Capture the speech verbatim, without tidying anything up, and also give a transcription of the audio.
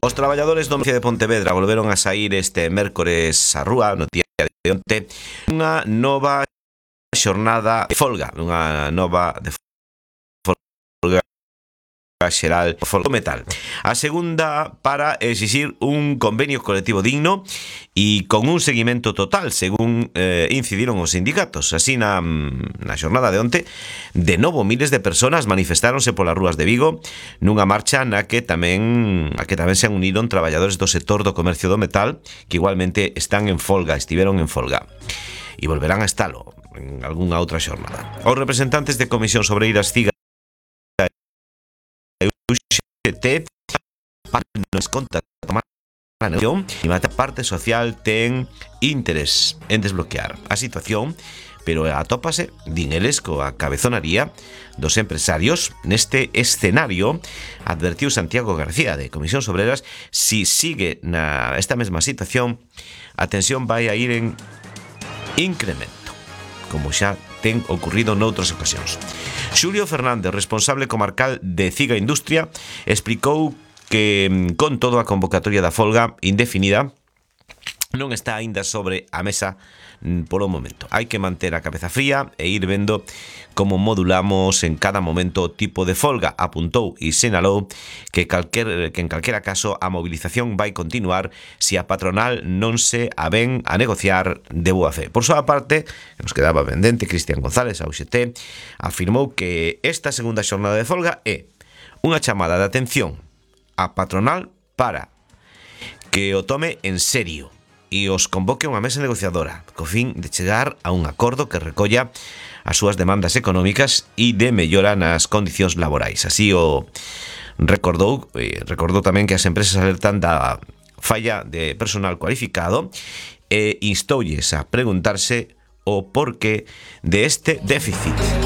Os traballadores do Municipio de Pontevedra volveron a saír este mércores á rúa no día de onte unha nova xornada de folga, unha nova de folga xeral folga metal. A segunda para exixir un convenio colectivo digno e con un seguimento total, según eh, incidiron os sindicatos. Así na, na xornada de onte, de novo miles de personas manifestáronse polas rúas de Vigo nunha marcha na que tamén a que tamén se uniron traballadores do sector do comercio do metal que igualmente están en folga, estiveron en folga e volverán a estalo en algunha outra xornada. Os representantes de Comisión Obreiras Ciga U X T nos conta tomar a negociación e a parte social ten interés en desbloquear a situación, pero atópase, din eles, coa cabezonaría dos empresarios neste escenario. Advertiu Santiago García de Comisión Obreiras: si sigue na esta mesma situación, a tensión vai a ir en incremento, como xa ten ocurrido noutras ocasións. Xulio Fernández, responsable comarcal de Ciga Industria, explicou que, con todo, a convocatoria da folga indefinida non está aínda sobre a mesa polo momento. Hai que manter a cabeza fría e ir vendo como modulamos en cada momento o tipo de folga, apuntou e sinalou que, calquer, que en calquera caso a movilización vai continuar se a patronal non se avén a negociar de boa fe. Por súa parte, que nos quedaba pendente, Cristian González, a U X T, afirmou que esta segunda xornada de folga é unha chamada de atención a patronal para que o tome en serio e os convoque a unha mesa negociadora co fin de chegar a un acordo que recolla as súas demandas económicas e de mellora nas condicións laborais. Así o recordou, eh, recordou tamén que as empresas alertan da falla de personal cualificado e instoulles a preguntarse o porqué de este déficit.